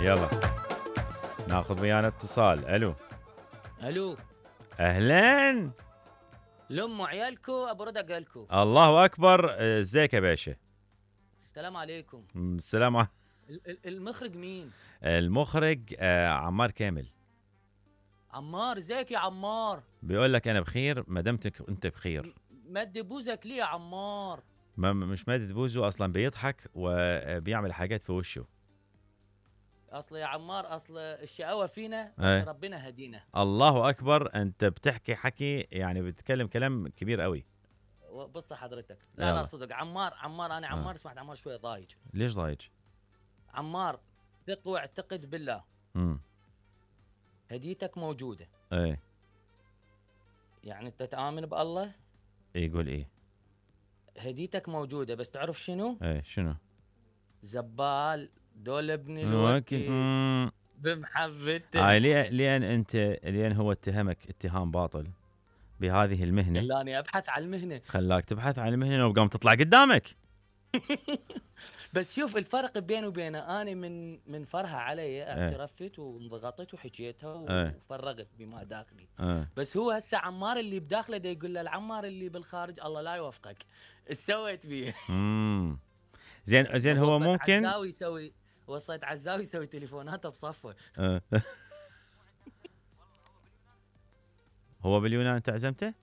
يلا ناخذ ويانا اتصال. الو. الو. اهلين. لام عيالكو ابو رد اقلكو. الله اكبر. ازيك يا باشا؟ السلام عليكم. السلام. المخرج مين؟ المخرج عمار كامل. عمار، ازيك يا عمار؟ بيقول لك انا بخير ما دمتك انت بخير. مد بوزك ليه يا عمار؟ مش مادة بوزه اصلا، بيضحك وبيعمل حاجات في وشه. اصل يا عمار، اصل الشقاوه فينا بس ايه. ربنا هدينا. الله اكبر، انت بتحكي حكي يعني بتتكلم كلام كبير قوي. بص حضرتك، لا لا يلا. صدق عمار انا عمار سمعت عمار شويه ضايج. ليش ضايج؟ عمار، ثق واعتقد بالله. امم هديتك موجوده. ايه. يعني انت تآمن بالله؟ يقول ايه؟ هديتك موجوده، بس تعرف شنو؟ ايه شنو؟ زبال دول ابن ممكن. الوكيل بمحبته. هاي لان هو اتهمك اتهام باطل بهذه المهنة. خلاني ابحث عن المهنه. خلاك تبحث عن المهنة وقام تطلع قدامك. بس شوف الفرق بيني وبينه، انا من فرها علي ايه. اعترفت وانضغطت وحكيتها ايه. وفرغت بما داخلي. ايه. بس هو هسه عمار اللي بداخله دا يقول له العمار اللي بالخارج الله لا يوفقك. ايش سويت بيه؟ زين هو ممكن. وصيت عزاوي يسوي تليفوناته بصفه. هو باليونان انت عزمته؟